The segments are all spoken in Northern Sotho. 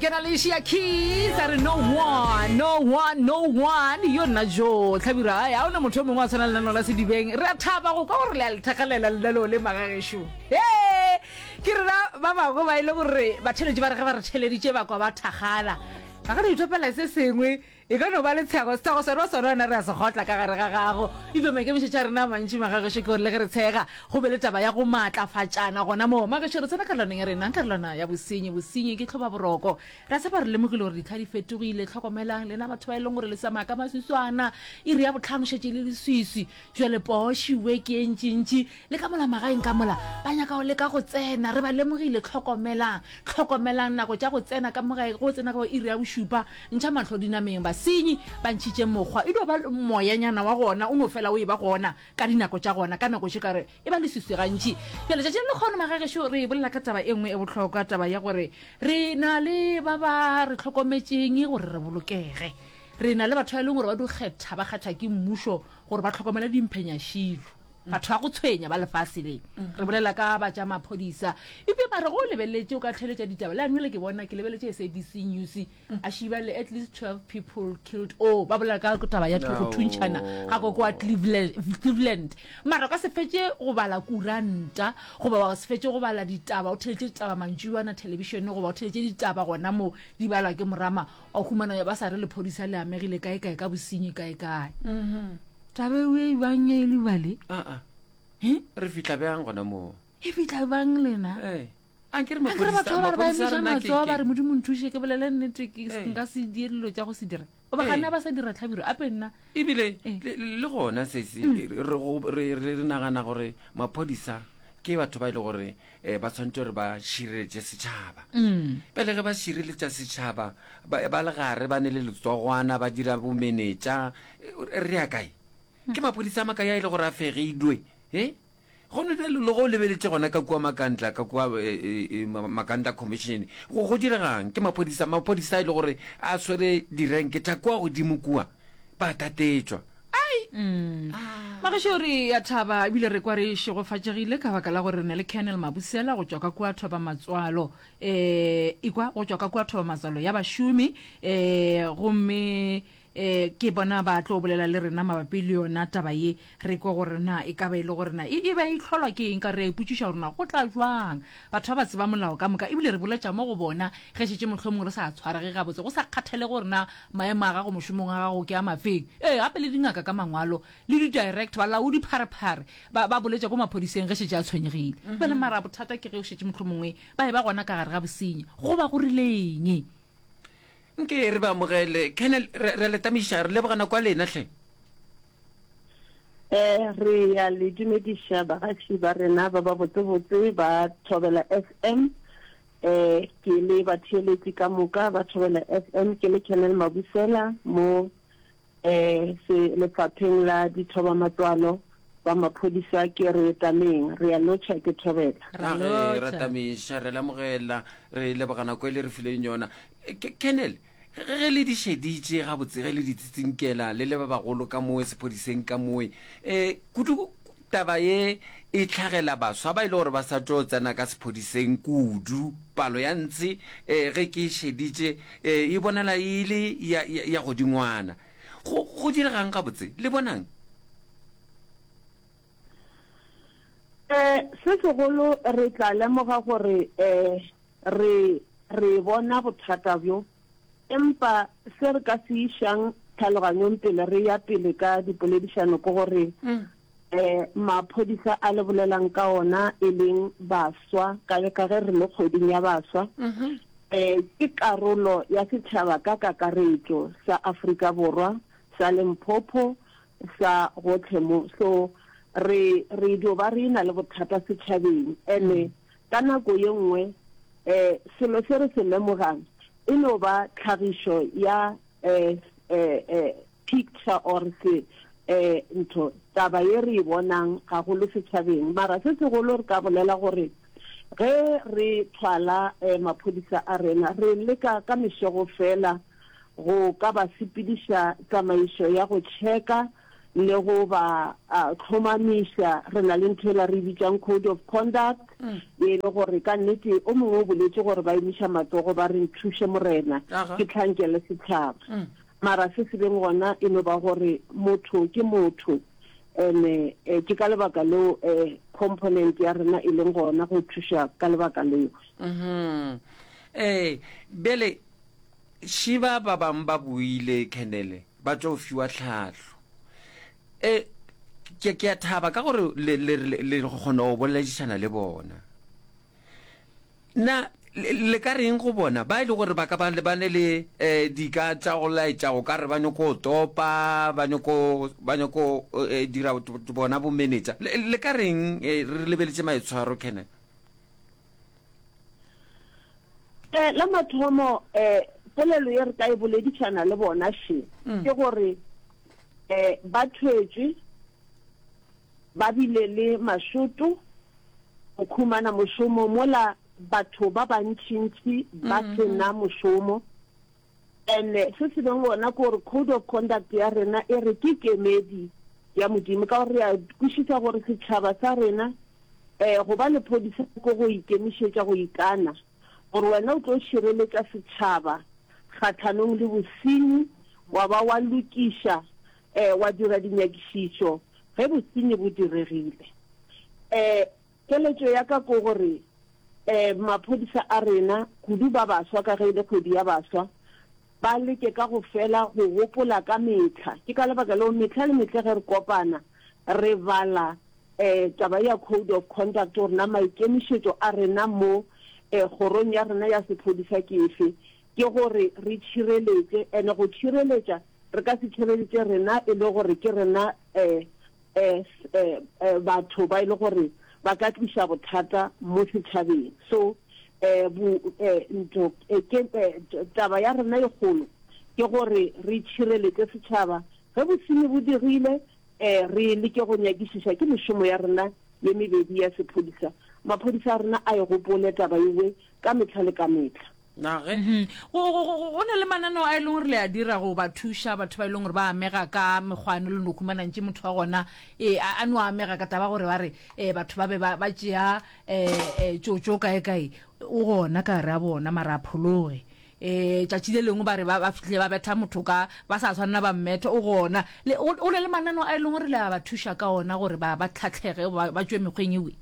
Ke na le Shia Keys a re no one, no one, no one. Yo nna jo, Hlabirwa, ai, ga o na motho yo mongwe wa tshwana le lenaneo la Sedibeng. Re a thaba go kwa gore le a le thakgalela lenaneo le magagešo. Hee! Ke rena ba bangwe ba e le gore batheeletši ba re ge ba re theeleditše ba kwa ba thakgala. Ba ka no ithopela se sengwe. E ka no ba letshego, setshego sona sona wena re a se kgotla ka gare ga gago. Eupša maikemišetšo a rena a mantši magagešo ke gore le ge re tshega, go be le taba ya go maatlafatšana gona moo. Magešo, re tsena karolwaneng ya rena, karolwana ya bosenyi. Bosenyi ke tlhobaboroko. Re a tshepa re lemogile gore ditlha di fetogile. Hlokomelang, lena batho ba e leng gore le tsamaya ka maswiswana, iri ya bohlano šetše e le leswiswi. Bjale poo šiwe ke e ntšintši, le ka mola magaeng ka mola, ba nyaka go leka go tsena. Re ba lemogile. Hlokomelang, hlokomelang nako tša go tsena ka mo gae, go tsena ka bo iri ya bošupa, ntšha mahlo dinameng. Basenyi ba ntšhitše mokgwa, e dio ba moyanyana wa gona o no fela o eba gona ka dinako tša gona, ka nako tše ka re e ba leswiswi gantši. Bjale tšatši le lekgono magagešo re bolela ka taba e nngwe e bohlokwa, taba ya gore re na le ba ba re hlokometšeng gore re bolokege. Re na le batho ba e leng gore ba dio kgetha, ba kgetha ke mmušo gore ba hlokomele dimphenyašilo, batho ba go tshwenya ba lefase le. Re bolela ka ba tša maphodisa. Eupša mara ge o lebeletše, o ka theeletša ditaba. Le anwele ke bona, ke lebeletše SABC News, a šiba le at least 12 people killed. Oh, ba bolela ka taba ya go thuntšhana ga koko wa Cleveland. Mara o ka se fetše go bala kuranta, goba wa se fetše go bala ditaba, o theeletše ditaba mantšiboana thelebišene, goba o theeletše ditaba gona mo di balwa ke morama, Wa humana ba sa re lephodisa le amegile kae kae ka bosenyi kae kae. Mm-hmm. Taba eo e bang e le bale? Aa. Re fihla bjang gona moo? E fihla bang lena? Ee. Ankere Ankere batho ba ba re ba emiša matsogo ba re Modimo nthuše ke bolele nnete ke nka se die dilo tša go se dira. Goba gana ba sa dira tlhabiro ape nna. Ebile le gona sesi re re nagana gore maphodisa ke batho ba e le gore um ba tshwanetse gore ba šireletše setšhaba mm. pele ge ba šireletša setšhaba ba le gare ba ne le letsogwana ba dira bomenetša re ya kae mm. ke maphodisa a makae a e le gore a fegilwe e gone bjalo le go lebeletše gona ka kua makantla ka kua e, e, e, makantla commission go go diregang ke maphodisa maphodisa e le gore a swere direnke tša kua godimo kua ba tatetšwa Ai! Magešo re a thaba ebile re kwa re šegofatšegile ka baka la gore re na le Colonel Mabusela go tšwa ka kua Thobamatswalo eh ikwa go tšwa ka kua Thobamatswalo ya bašomi eh gomme eh ke bona ba tlo bolela le rena mabapi le yona taba ye re kwe gore na e ka ba e le gore na e e ba e hlolwa ke eng ka re a ipotšiša gore na go tla jwang batho ba ba tseba molao ka moka ebile re boletša mo go bona ge šetše mohlomongwe re sa tshwarege gabotse go sa kgathale gore na Maemo a gago mošomong wa gago ke a mafeng? Ee, gape le dingaka ka mangwalo, le di-director, balaodi pharephare, ba, ba boletša ko maphodiseng ge šetše a tshwenyegile. Bjale mara bothata ke ge o šetše mohlomongwe ba eba gona ka gare ga bosenyi. Go ba go rileng? Nke re ba amogele. Colonel, re, re a le tamiša. Re leboga nako ya lena hle. Eh, re ya le dumediša bagaši ba rena ba ba botsebotse ba Thobela FM. Eh, ke le batheeletši ka moka ba Thobela FM, ke le Colonel Mabusela mo eh se lefapheng la dithobamatswalo ba maphodisa ke re tameng, re a lotšha ke Thobela. Ra A ge ra lotšha. tamiša, re lamogela, re leboga nako e le re fileng yona. Eh, Ke- Colonel, ge ge le di šeditše gabotse, ge le di tsitsinkela le le ba bagolo ka mowe sephodiseng ka mowe, um kudu taba ye e tlhagela baswa ba e le gore ba sa tšo tsena ka sephodiseng kudu. Palo ya ntshe um ge ke e šeditše um e bonala e le ya, ya, ya godingwana. Go, go diregang gabotse? Le bonang? Um se segolo re tla lemoga gore um Re, re bona bothata bjo, empa se re ka se išang tlhaloganyong pele re ya pele ka dipoledišano ke gore um maphodisa a le bolelang ka ona e leng baswa, ka, ka ge re le kgweding ya baswa, um ke karolo ya setšhaba ka kakaretšo sa Afrika Borwa, sa Limpopo, sa gohle mo. So re, re dio ba re e-na le bothata setšhabeng, ene Ka nako ye nngwe selo se re se lemogang e no ba tlhagišo ya picture or se ntho, taba ye re e bonang gagolo setšhabeng. Mara se segolo re ka bolela gore ge re thwala maphodisa a rena, re leka ka mešego fela go ka ba sepediša tsamaišo ya go checka. le go ba hlomamiša. Re na le ntho ela re e bitšang code of conduct, e le gore ka nnete o mongwe o boletše gore ba emiša matsogo ba re nthuše Morena ke hlankele setšhaba. Mara se se beng gona e no ba gore motho ke motho and ke ka lebaka leo component ya rena e leng gona go thuša ka lebaka leo. Ee, bjale šiba ba bangwe ba boile Colonel ba tšo fiwa tlhahlo. E, ke, ke a thaba ka gore le, le, le, le kgona go boledišana le bona. Na le, le ka reng go bona ba e le gore ba ka ba lebane le eh, dika tša go laetša go ka re ba nyoko topa, ba nyoko, ba nyoko eh, dira bona bomenetša? Le, le ka reng eh, re lebeletše maitshwaro, Colonel? Eh, la mathomo eh, polelo ye re ka e boledišana le bona še mm. ke gore eh, ba thwetšwe ba bile le mašoto go khumana mošomo mola batho ba bantšintši ba mm-hmm. sena mošomo And se se beng gona ke gore code of conduct ya rena e re ke kemedi ya Modimo, ka gore re a kwešiša gore setšhaba sa rena um go ba lephodisa ke go ikemišetša go ikana gore wena o tlo šireletša setšhaba kgahlanong le bosenyi, wa ba wa lokiša um wa dira dinyakišišo ge bosenyi bo diregile. Um keletšo ya ka ke gore Maphodisa a rena, kudu ba baswa ka ge e le kgwedi ya baswa, ba leke ka go fela go gopola ka mehla. Ke ka lebaka leo mehla le mehla ge re kopana re bala taba ya Code of Conduct gore na maikemišetšo a rena mo kgorong ya rena ya sephodisa ke efe. Ke gore re tšhireletše, and go tšhireletša re ka se tšhireletše rena e le gore ke rena batho ba e le gore ba ka tliša bothata mo setšhabeng. So ntho ke taba ya rena e kgolo ke gore re tšhireletše setšhaba. Ge bosenyi bo dirile, re leke go nyakišiša. Ke mešomo ya rena ye mebedi ya sephodisa. Maphodisa a rena a e gopole taba ewe ka mehla le ka mehla. Na ge. Mhm. Go, go, go, go na le mananeo a e leng gore le a dira go ba thuša batho ba e leng gore ba amega ka mekgwano le no humana ntše motho wa gona e, a, a no amega ka taba gore ba re e, batho ba be ba, ba tšea e, e, tšotšo kae kae o gona ka gare a bona mara a phologe e, tšatši le lengwe ba re ba, ba fihlile ba betha motho ka ba sa tshwanela ba mmetha o gona le, go, go na le mananeo a e leng gore le a ba thuša ka ona gore ba, ba tlhatlhege ba, ba tšwe mekgweng ewe.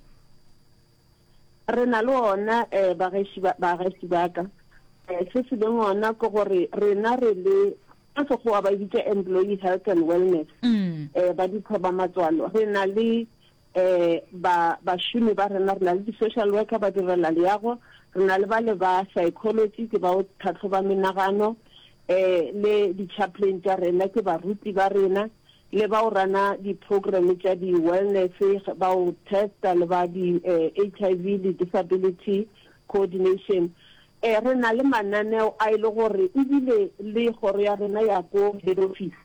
Re na le ona, eh, bageši ba, bageši ba ka. Eh, se se leng ona ke gore rena re le, ka Sekgowa ba e bitša Employee Health and Wellness, eh, ba ditho ba matswalo. Re na le, eh, ba, bašomi ba rena, re na le di-social worker ba direla leago, re na le bale ba psychology, ke bao tlhahloba menagano, eh, le di-chaplain tša rena, ke baruti ba rena. le bao rana di-programme tša di-wellness, bao testa le ba di-HIV le disability coordination. Eh, re na le mananeo a e le gore ebile le kgoro ya rena ya ko head office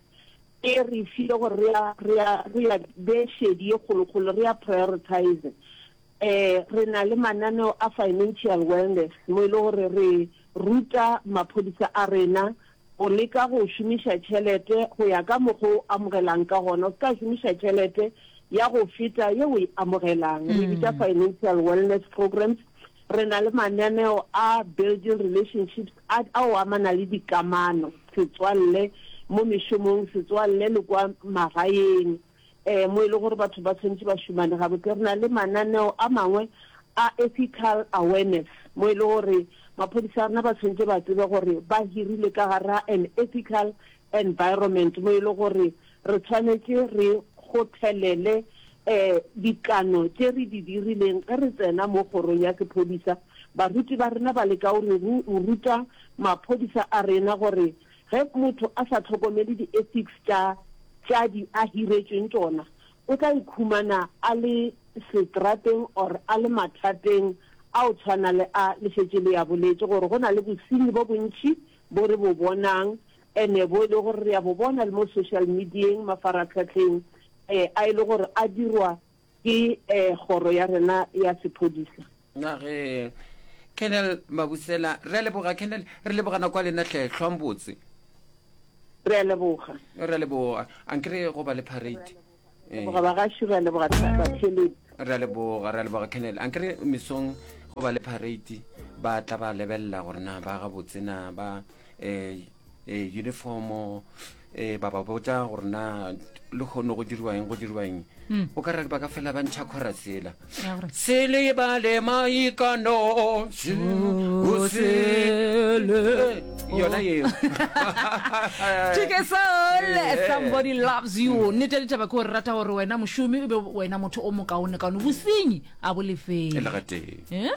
e re file gore re a, re a, re a bee šedi ye kgolokgolo, re a prioritize. Eh, re na le mananeo a financial wellness mo e le gore re ruta maphodisa a rena Go leka go šomiša tšhelete go ya ka mokgwa o amogelang ka gona. O se ka šomiša tšhelete ya go feta ye o e amogelang. Re e bitša financial wellness programs. Re na le mananeo a building relationships a ao amana le dikamano, setswalle mo mešomong, setswalle le kwa magaeng. um mo e le gore batho ba tshwanetše ba šomane gabotse. Re na le mananeo a mangwe a ethical awareness mo e le gore maphodisa a rena ba tshwanetše ba tsebe gore ba hirile ka gare ga an ethical environment mo e le gore re tshwanetše re kgothelele um dikano tše re di dirileng ge re tsena mo kgorong ya sephodisa. Baruti ba rena ba leka go re ruta maphodisa a rena gore Ge motho a sa hlokomele di-ethics tša tša di a hiretšweng tšona, o tla ikhumana a le setrateng or a le mathateng a o tshwana le a le šetše le a boletše gore go na le bosenyi bo bontši bo re bo bonang ene bo e le gore re a bo bona le mo social media-eng, mafaratlhatlheng, a e le gore a dirwa ke kgoro ya rena ya sephodisa. Na ge Colonel Mabusela, re a leboga Colonel, re leboga nako ya lena hle, hlwang botse. Re a leboga. Re a leboga. Ankere go ba le parade. Leboga bagaši, re a leboga batheeletši. Re a leboga, re a leboga Colonel. Ankere mesong go ba le parade ba tla ba lebelela gore na ba gabotse na ba eh, eh, uniformo eh, ba ba botša gore na le kgono go diriwa eng go diriwa eng hmm. o ka re ba ka fela ba ntšha chorus ela se lebale maikano o sele yona yeo Chike soul somebody loves you nnete ya ditaba ke gore rata gore wena mošomi o be wena motho o mokaone kaone bosenyi a bo lefele le gatee Eh?